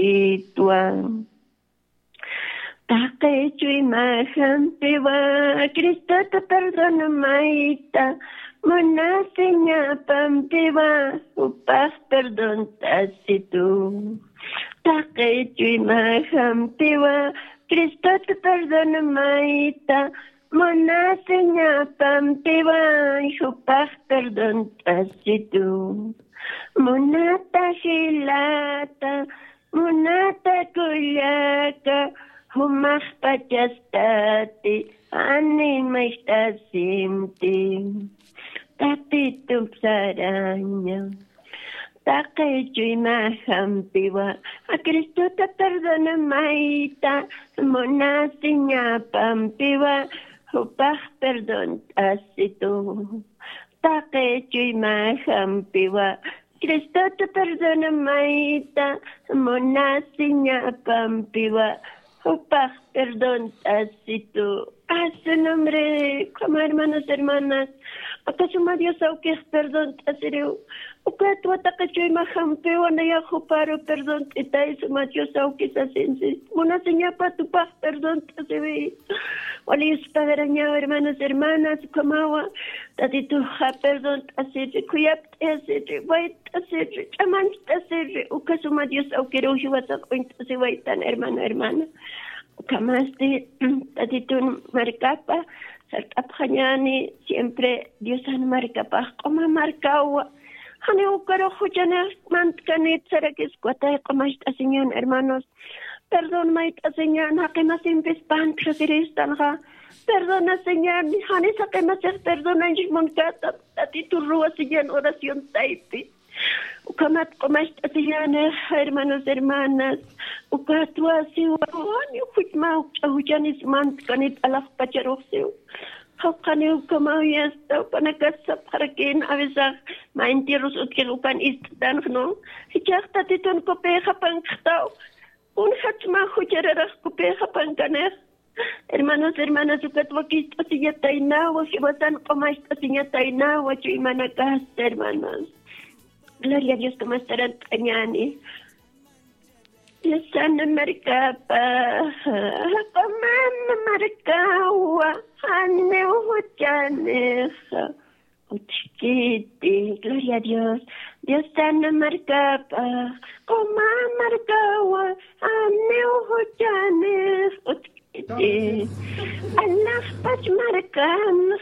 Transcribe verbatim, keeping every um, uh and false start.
Itwa. Taqi chuyma jampiwa, Cristota perdonmayta munasiñapampiwa, jupax perdont'asitu. Taqi chuyma jampiwa, Cristota perdonmayta munasiñapampiwa, jupax perdont'asitu. Munata jilata, munata kullaka, jumaxpachas tati, animaxt'asimti. Tatitup saraña. Taqi chuyma jampiwa, a Cristota perdonmayta munasiñapampiwa, jupax perdont'asitu. Taqi chuyma jampiwa, Cristota perdonmayta munasiñapampiwa, jupax perdont'asitu. A su nombre, como hermanos, hermanas, aka suma Dios awkix perdont'asiriw. Ukatwa taqi chuyma jampiwa nayax juparu perdont'itay suma Dios awkix sasinsi. Munasiñapat jupax perdont'asiwi. Wali yuspagarañaw, hermanos, hermanas, ukhamawa. Tatituxa perdont'asiri, khuyapt'asiri, wayt'asiri, ch'amancht'asiri, uka suma Dios awkiruw jiwasa q'uñt'asiwaytan, hermano, hermana. Ukhamasti, Tatitun markapa sart'apxañäni, siempre Diosan markapax q'uma markawa. Janiw ukarux juchanix mantkanit sarakis, ukatay q'umacht'asiñän, hermanos. Perdón mayt'asiñän, jaqi masimpis pantjasiristanxa. Perdonasiñän, janis jaqi masix perdonañch munkätam, Tatitur ruwasiñän oración taypi. Ukhamat q'umacht'asiñänix, hermanos, hermanas. Ukatwa siwa, janiw juchma jukch'a juchanis mantkanit alaxpacharux siw. Jawqaniw ukhamaw yasta, jupanakas sapxarakïn, a veces mä entierros utjix ukan ist'tanx, ¿no? Jichhax Tatitun kupïxapankxtaw. Kunjatsma juchararax kupïxapankanix. Hermanos, hermanas, ukat wakicht'asiñataynawa, jiwasan q'umacht'asiñataynawa, chuymanakasta, hermanos. Gloria a Dios, como estarán tañani. Diosan markapa, q'umam markawa, janiw juchanix utjkiti, gloria a Dios. Diosan markapa, q'uma markawa, janiw juchanix utjkiti. Alaxpach markanx,